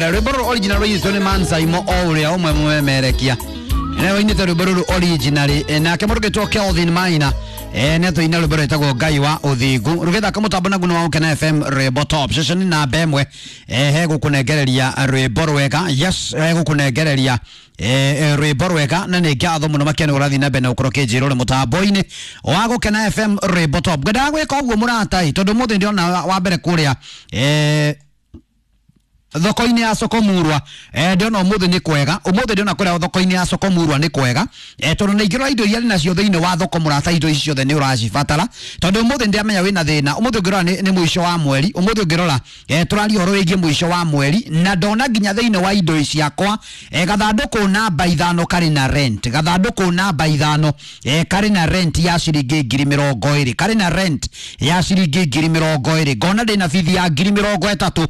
Rwimbo ruru original rũiyĩtwo nĩ Mansaimo o ũrĩa ũmwe mũmemerekia nĩwe ũinĩte rwĩmbo rũrũ original. Nake mũndũ ũgĩtwo Kelvin Maina nĩ atũina rwĩmbo rwĩtagwo Ngai wa Ũthingu, rũgĩthaka mũtambo na guno wa Gũkena FM, rwĩmbo top ceceni namba ĩmwe. He gũkũnengereria rwĩmbo rwega, yes, he gũkũnengereria rwĩmbo rwega, na nĩ ngatho mũno makĩria nĩ ũrathiĩ na mbere na gũkorwo kĩnjĩra ũrĩ mũtambo-inĩ wa Gũkena FM, rwĩmbo top. Ngwendaga gwĩka ũguo mũratai tondũ ũmũthĩ ndĩrona wa mbere kũrĩa thoko-inĩ ya Sokomurwa, ndĩrona ũmũthĩ nĩ kwega, ũmũthĩ ndĩrona kũrĩa thoko-inĩ ya Sokomurwa nĩ kwega, tondũ na ingĩrora indo iria nacio thĩinĩ wa thoko mũrata, indo ici ciothe nĩ ũracibatara, tondũ ũmũthĩ ndĩramenya wĩna thĩna. Ũmũthĩ ũngĩrora nĩ mũico wa mweri, ũmũthĩ ũngĩrora, tũraria ũhoro wĩgiĩ mũico wa mweri, na ndona nginya thĩinĩ wa indo ciakwa, gathandũkũ namba 5 karĩ na rent, gathandũkũ namba 5, karĩ na rent ya ciringi 20,000, karĩ na rent ya ciringi 20,000. Ngona ndĩna bithi ya 30,000,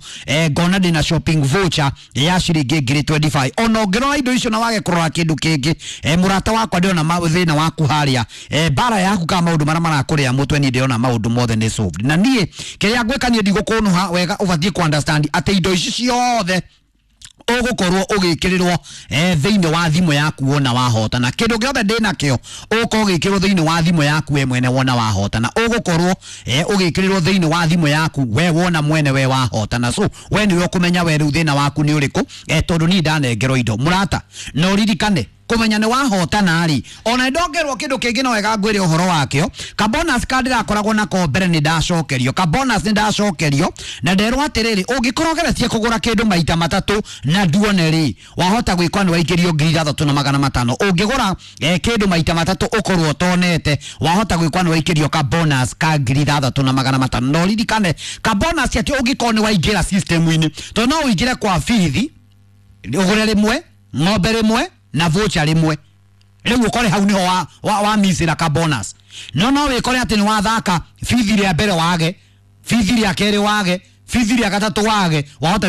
ngona ndĩna shopping voucher ya ciringi 25,000. Ona ũngĩrora indo icio na wage kũrora kĩndũ kĩngĩ, mũrata wakwa, ndĩrona thĩna waku harĩa, bara yaku kana maũndũ marĩa marakũrĩa mũtwe, niĩ ndĩrona maũndũ mothe nĩ solved. Na niĩ kĩrĩa ngwĩka, niĩ ndigũkũnũha wega, ũbatiĩ ku understand atĩ indo ici ciothe ũgũkorwo ũgĩkĩrĩrwo thĩinĩ wa thimũ yaku wona wahotana. Kĩndũ gĩothe ndĩnakĩo ũgũkorwo ũgĩkĩrwo thĩinĩ wa thimũ yaku we mwene wona wahotana, ũgũkorwo ũgĩkĩrĩrwo thĩinĩ wa thimũ yaku we wona mwene we wahotana. So we nĩwe ũkũmenya we rĩu thĩna waku nĩ ũrĩkũ, tondũ niĩ ndanengerwo indo mũrata. Na ũririkane kũmenya nĩ wahotana rĩ, ona ndongerwo kĩndũ kĩngĩ no wega ngwĩre ũhoro wakĩo. Ka bonus ka ndĩrakoragwo nako mbere nĩ ndacokerio, ka bonus nĩ ndacokerio, na nderwo atĩrĩrĩ, ũngĩkorwo ũgeretie kũgũra kĩndũ maita matatũ na nduone rĩ, wahota gwĩkwa nĩ waikĩrio 6,500. Ũngĩgũra kĩndũ maita matatũ ũkorwo ũtonete, wahota gwĩkwa nĩ waikĩrio ka bonus ka 6,500. Na ũririkane ka bonus atĩ ũngĩkorwo nĩ waingĩra system-inĩ, tondũ no ũingĩre kwa bithi ũgũre rĩmwe ng'ombe rĩmwe na voucher rĩmwe, rĩu ũkore hau nĩho wa missĩra ka bonus. No wĩkore atĩ nĩ wathaka bithi rĩa mbere wage, bithi rĩa kerĩ wage, bithi rĩa gatatũ wage, wahota.